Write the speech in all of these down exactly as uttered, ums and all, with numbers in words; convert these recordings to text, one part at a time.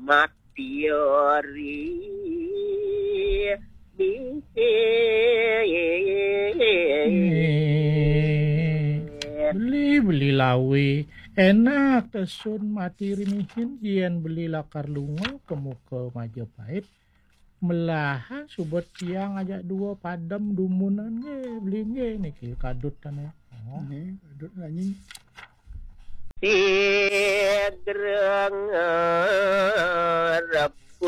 Matiori. Beli, beli lawe. Enak tesun mati rinihin, yen beli lakar lunga ke muka Majapahit. Melahan subet tiang ajak dua padem dumunan nggih, beli nggih niki kadut tane. Oh. Nggih, kadut nanging. Sigreng rebut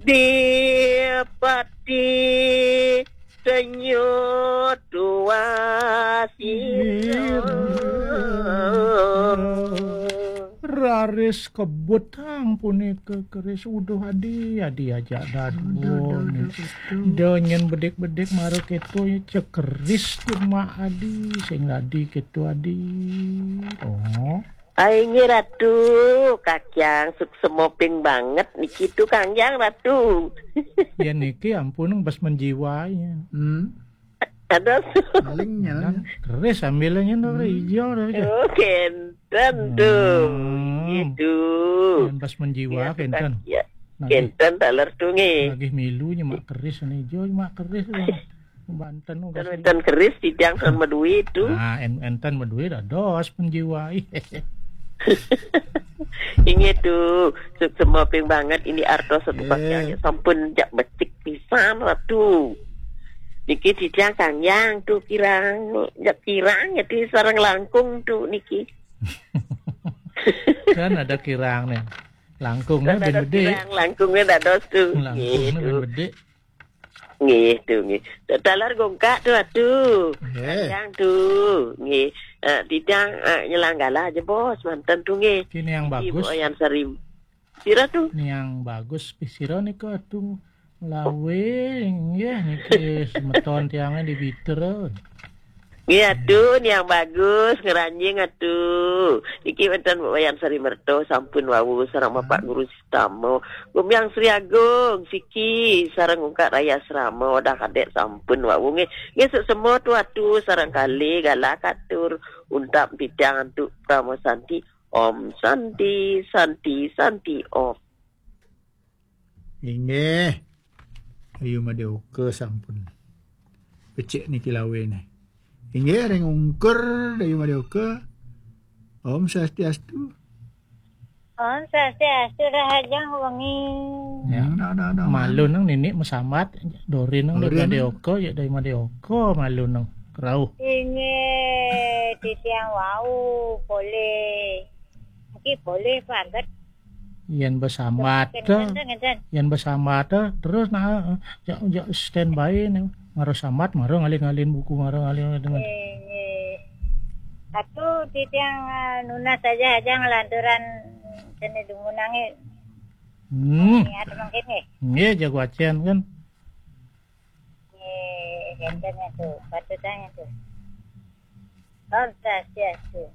dipati senyut wasir. Raris kebut ang punika keris. Uduh adi, adi ajak dadua. Aduh, aduh, aduh, aduh. Denyen bedik-bedik mara keto ya cekeris tu mak adi, sing dadi keto adi. Oh. Ai nggih Ratu, Kakyang suksema ping banget niki tu Kangyang Ratu. Ya niki ampun bas menjiwai. Hmm. Ada. Paling nyalan. Keris ambilnya no ijo. Oh, kenten tu. Hmm. Gitu. Yang pas menjiwa ya, kenten. Ya. Nagih, kenten taler tu nggih. Nagih milu nyemak keris nih ijo, nyemak keris. Banten. Kan wenten keris titiang sama duit tu. Ah, en, enten beduit dados penjiwa. Inggih tu, suksema ping banget ini artos satu bagian sampun jak becik pisan Ratu. Niki titiang Kangyang tu kirang, jak kirang ya ti sareng langkung tu niki. Kan ada kirang nih. Langkungnya ben gede. Kirang langkungnya dados tu. Langkungnya ben gede. Nggih, tu nggih. Taler gongkak tu Ratu. Nggih. Yang tu. Nggih. Ah, titiang, ah, nyelang galah aja bos, manten tu nggih. Kini yang bagus. Ibu Ayan Sarim. Sira tu. Ni yang bagus, pi sira nika tu. Lawe, nggih niki semeton tiangnya di Biter. Nggih atu, ni yang bagus, ngeranjing atu. Iki wenten Wayan Sari Merto sampun wau sareng Bapak Guru Sitama. Gumiang Sri Agung, siki sareng ungkat raya asrama, wadah kadek sampun wau nggih. Nggih suk semua tu atu sareng kali galah katur untap pitang antuk Prama Santi. Om Santi, Santi, Santi, Om. Inggih. Ayu Madya Oka sampun. Becik niki lawene. Inggih ring ungkur Dayu Madya Oka. Om Swastiastu. Om Swastiastu, rahajeng wengi. Ya. Hmm, dah, dah, dah. Malu nang nini mesambat, Dorin nang Dorin. Dayu Madya Oka, ya Dayu Madya Oka malu nang kerauh. Inggih, titiang wau polih. Mungkin polih paget. Yen besambat, ngenten, ngenten. Yen besambat, terus nah, ya, ya standby nih. Maro sambat, maro ngalin-ngalin buku, maro ngalin-ngalin. Nggih, nggih. Atu titiang, eh, nunas saja aja ngelanturan kene dumunange. Hmm. Niat mungkin nggih. Nggih, jago acen kan. Nggih, enten itu, patutnya itu. Om Swastiastu.